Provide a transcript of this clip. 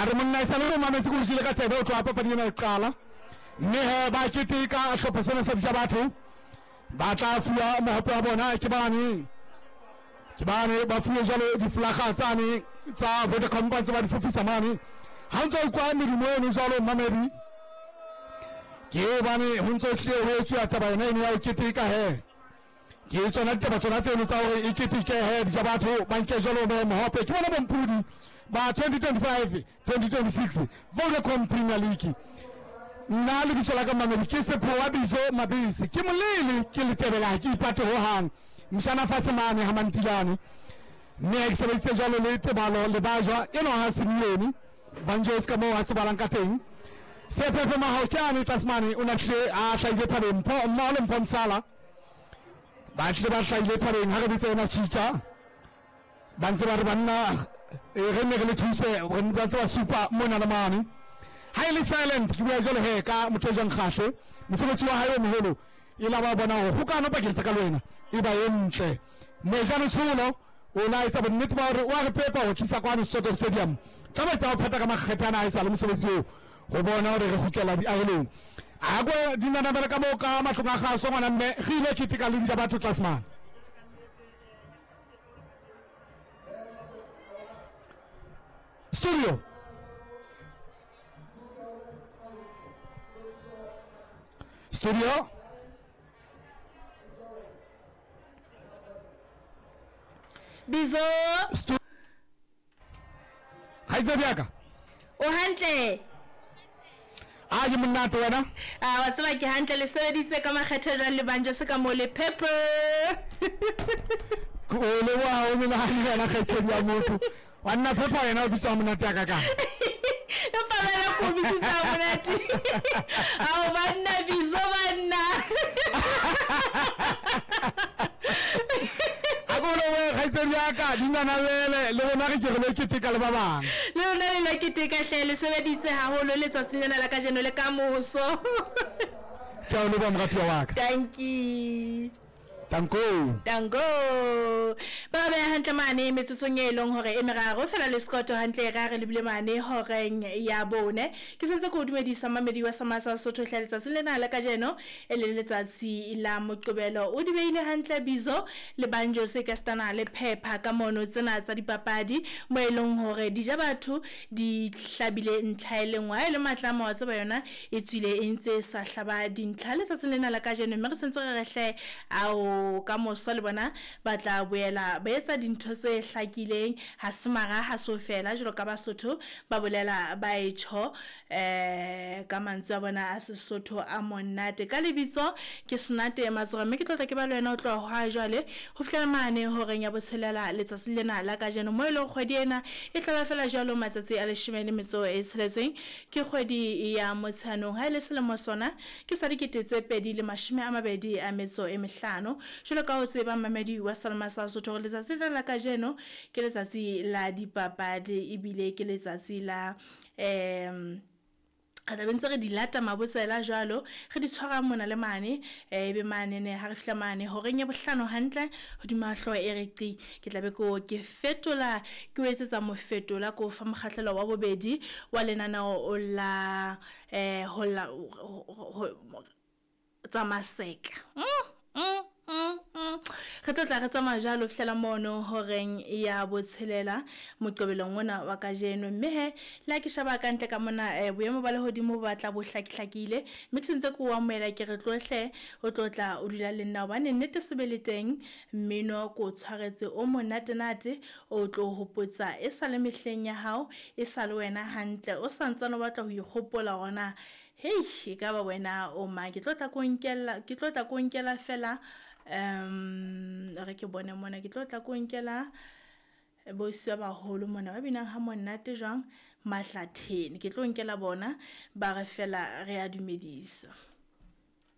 A re monna e sa le re mametse ko jile ka tsebe o tloha papadi ena e qala. Mme he ba keteka hlopha sena sa dija batho. Ba tla fuwa mohope wa bona ke bane. Ke bane ba fuwe jwalo difolaga tsane tsa Vodacom ba ntse ba di fofisa mane. Ha ntse o kwa medumo eno jwalo mamedi. Ke hobane ho ntse ho hlile ho etsuwa taba yona eno ya ho keteka he. Ke tsona ditaba tsona tseno tsa hore e keteke he dija batho ba nke jwalo mohope ke bona bompudi ba 2025 2026 Vodacom Premier League. Nna lebitso la ka mamedi ke Sephowa Bizo Mabese, ke molele ke letebela ha ke ipate hohang. Mshana fatshe mane ha Mantilane, mme ha ke sebeditse jwalo le Tebalo le Bajwa eno ha Simeone Banjos ka moo a tsebalang ka teng. Sephephe Mahao ke ane tlase mane o na tlile a hlahile thabeng Mpho mmoho le Mpho Msala ba tlile ba hlahile thabeng ha re bitsa ena tjhitja ba ntse ba re banna re ne re le thuse re ba ntse ba supa mona le mane. Ha e le silent ke bua jwalo he ka motho e jang kgahle mosebetsi wa hae o moholo e la ba bona hore kgokano pakeng tsa ka le wena e ba e ntle. Mojane Tsholo o la etsa bonnete ba hore o a re pepa ho tlisa kwano Soto Stadium tla etsa ho phetha ka makgethe ana a e sa le mosebetsi oo ho bona hore re kgutlela diahelong. A ko dinanabele ka moo ka matlong a kgaso ngwana mme re ile keteka le dija batho tlase mane. Studio. Studio. Bizo. Kgaitsedi ya ka. O hantle? A ke monate wena? A wa tseba ke hantle, le sebeditse ka makgethe jwang le Banjo se ka mo le Pepper. O leboha o menahane wena kgaitsedi ya motho. Wa nna Pepper wena o bitswa monate ya ka ka. Empa wena ko bitsitsa monate. Ao banna Bizo banna. A ko lebohe kgaitsedi ya ka dinanabele le rona re ke re lo keteka le ba bang. Le rona le lo keteka hle, le sebeditse haholo letsatsing lena la kajeno le ka moso. Ke a o leboha moratuwa wa ka. Dankie. Tanko. Tanko. Ba beha hantle mane metsotsong e leng hore e meraro fela le sekoto hantle ra re lebile mane horeng ya bone. Ke sentse ke o dumedisa mamedi wa Samasa Sotho hle letsatsi lena la kajeno e le letsatsi la Moqebelo. O di beile hantle Bizo le Banjo se ka stana le phepha ka mono tsena tsa dipapadi mo e leng hore dija batho di hlabile ntlha e lengwe ha e le matlamo wa tseba yona e tswile e ntse sa hlaba dintlha letsatsing lena la kajeno, mme re sentse re re hle ao ka moso le bona ba tla boela ba etsa dintho tse hlakileng. Ha se mara ha so fela jwalo ka Basotho ba bolela ba e tjho ka mantswe a bona a Sesotho a monate. Ka lebitso ke Senate Matsoga, mme ke tlotla ke ba le wena o tloha hwa jwale ho fihlela mane horeng ya botshelela letsatsi lena la kajeno, mo e leng kgwedi ena e tlaba fela jwalo matsatsi a 16 ke kgwedi ya Motsheanong. Ha e le selemo sona ke sa 2025. Jwalo ka ho tseba mamedi wa Salma sa Sotho hore letsatsi lena la kajeno ke letsatsi la dipapadi ebile ke letsatsi la re tla be ntse re di lata mabotsela jwalo re di tshwara mona le mane ebe mane ne ha re fihla mane horeng ya bohlano hantle hodima hlooho e re qi ke tla be ko ke fetola ke o etsetsa mofetola ko fa mokgahlelo wa bobedi wa lenaneo la ho la tsa maseka. Re tlo tla re tsamaya jwalo fihlela mono horeng ya botshelela Moqebelong ona wa kajeno. Mme he le ha ke sheba ka ntle ka mona boemo ba lehodimo bo batla bo hlakihlakile, mme ke sentse ke o amohela ke re tlohle o tlo tla o dula le nna hobane nnete se be le teng mmino ko o tshwaretse o monatenate o tlo hopotsa e sa le mehleng ya hao e sa le wena hantle o santsane o batla ho ikgopola hore na hei e ka ba wena o mang. Ke tlo tla ko nkela, ke tlo tla ko nkela fela re ke bone mona, ke tlo tla ko nkela bosi ba baholo mona ba binang ha monate jwang Mahlatheni. Ke tlo nkela bona ba re fela re a dumedisa.